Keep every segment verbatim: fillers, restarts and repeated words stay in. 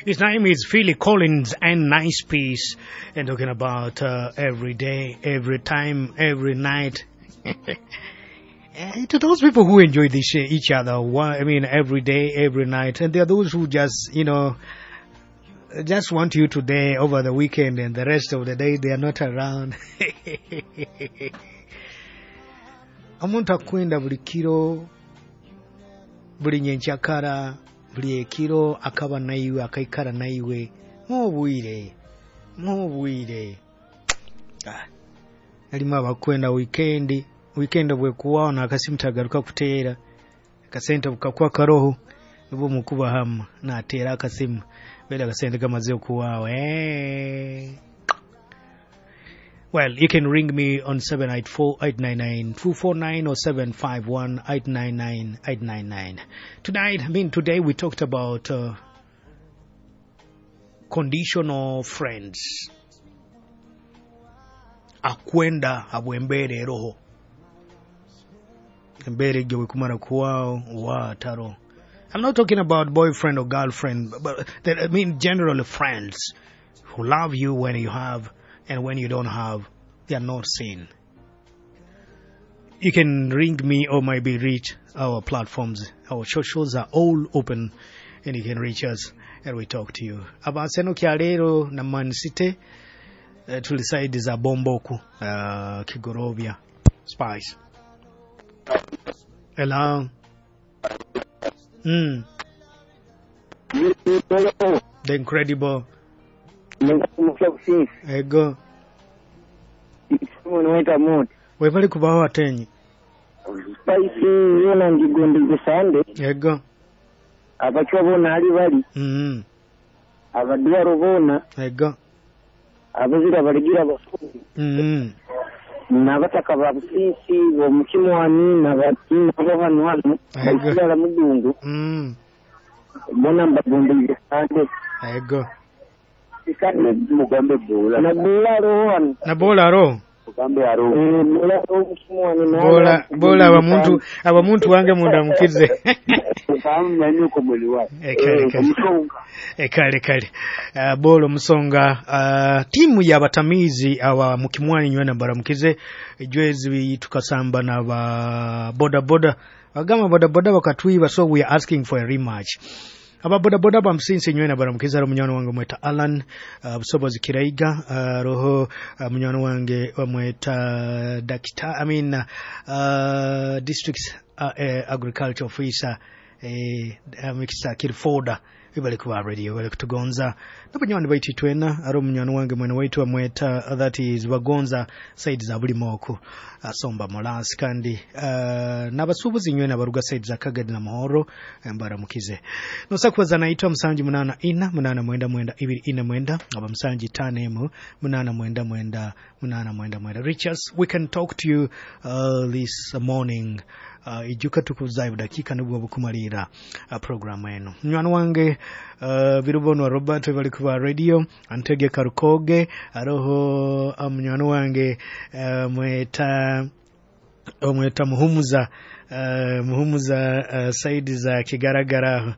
His name is Philly Collins and Nice Peace, and talking about uh, every day, every time, every night. Eh, to those people who enjoy this uh, each other, I mean, every day, every night, and there are those who just, you know, just want you today over the weekend, and the rest of the day they are not around. Omuntu akwenda buli kiro, buli nyenkyakara, buli ekiro akaba naiwe, akaikara naiwe mubwire mubwire. Ah, alimu abakwenda weekend weekend bwekuwawo nakasimu tagaruka kuteera, akasente bukakuwa karoho nibwo mukuba hamu nateera akasimu bera akasente kamaze okuwaawo. Eh. Well, you can ring me on seven eight four, eight nine nine, two four nine or seven five one, eight nine nine, eight nine nine. Tonight, I mean, today we talked about uh, conditional friends. Akwenda habwembere roho. Embere gwe kumara kuwao wa taro. I'm not talking about boyfriend or girlfriend, but, but I mean generally friends who love you when you have and when you don't have, they are not seen. You can ring me or maybe reach our platforms. Our socials are all open and you can reach us and we talk to you. Abaseno kyalero na Man City, uh, tuliside za Bomboku, uh, Kigorovia, Spice. Hello. Mm. The incredible. Ego. Webali kubaho atenyi. Spice yona ngigondeze sande. Ego. Abachwa bona ali bali. Mm. Abadwaro bona. Ego. Abazira baligira bafundi. Mm. Nabataka ba Busisi bo mukimwani nabatina bo hano hano. Basigala mudungu. Mm. Bona mbagondeze sande. Ego. Mugambe bola. Na bola roho. Na bola roho. Mugambe aro. Eh, bola roho mukimwani na. Bola bola abamuntu abamuntu wange munda mukize. Nyanyuko mwili wake. E kale kale. E kale kale. Uh, bolo musonga uh, timu ya batamizi awa mukimwani nywena baramukize jwezi tukasamba na ba boda boda. Agama boda boda wakatwiba, so we are asking for a rematch. Aba boda boda ba msinsi nywena baramukiza ro munywani wange mweta Alan uh, Busobozi Kiraiga uh, roho uh, munywani wange mweta Dakita I mean uh, district uh, uh, agriculture officer eh uh, Mister Kirfoda ibali kuba radio bali kutugonza nabanywani baitu twena aro munywani wange mwene waitu amweta that is bagonza side za buli moko asomba molasi kandi uh, nabasubuzi nywena baruga side za Kagadi na Mahoro mbaramukize nosakubaza naitwa msanji munana ina munana mwenda mwenda ibiri ina mwenda aba msanji tano munana mwenda mwenda munana mwenda mwenda. Richards, we can talk to you uh, this morning. Uh, ijuka tukuzayo dakika nibwo bukumalira uh, program eno munywani wange uh, birubonwa Robert bali kuba radio Antege Karukoge aroho uh, munywani wange uh, mweta mweta Muhumuza uh, Muhumuza uh, saidi za Kigaragara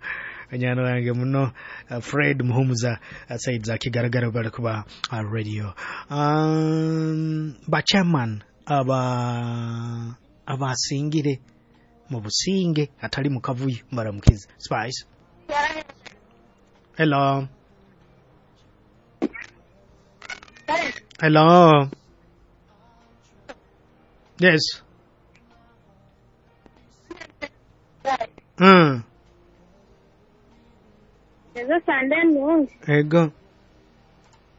munywani wange muno uh, Fred Muhumuza uh, saidi za Kigaragara bali kuba uh, radio um, ba chairman aba abasingire mu businge atali mu kavuyo mbaramukize. Spice. Hello. Hello. Yes. Mm. Ezo sande nungi. Ego.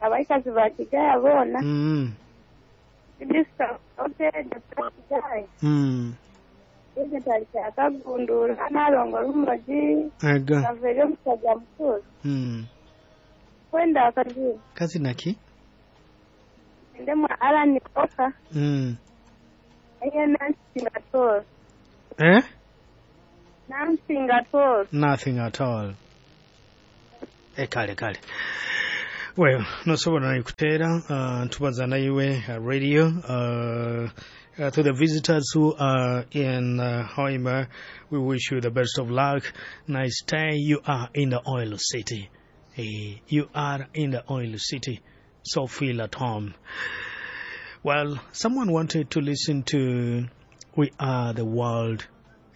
Abaikazi bakigaya bona. Mm. Disika ote dakigaya. Mm. Akagundura nalongo rumoji. Ego. Kavere omusaja mukuru. Mm. Kwenda akazi. Kazi naki? Ndemwa Alan Oka. Mm. Eye nothing at all. Eh? Nothing at all. Nothing at all. E kale kale. Well, nosobola naikuteera uh, tubaza naiwe uh, radio uh, uh, to the visitors who are in uh, Hoima, we wish you the best of luck. Nice day. You are in the oil city. Eh, you are in the oil city, so feel at home. Well, someone wanted to listen to We Are the World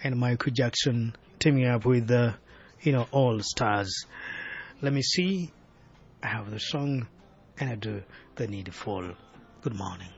and Michael Jackson teaming up with the, you know, All Stars. Let me see. I have the song and I do the needful. Good morning.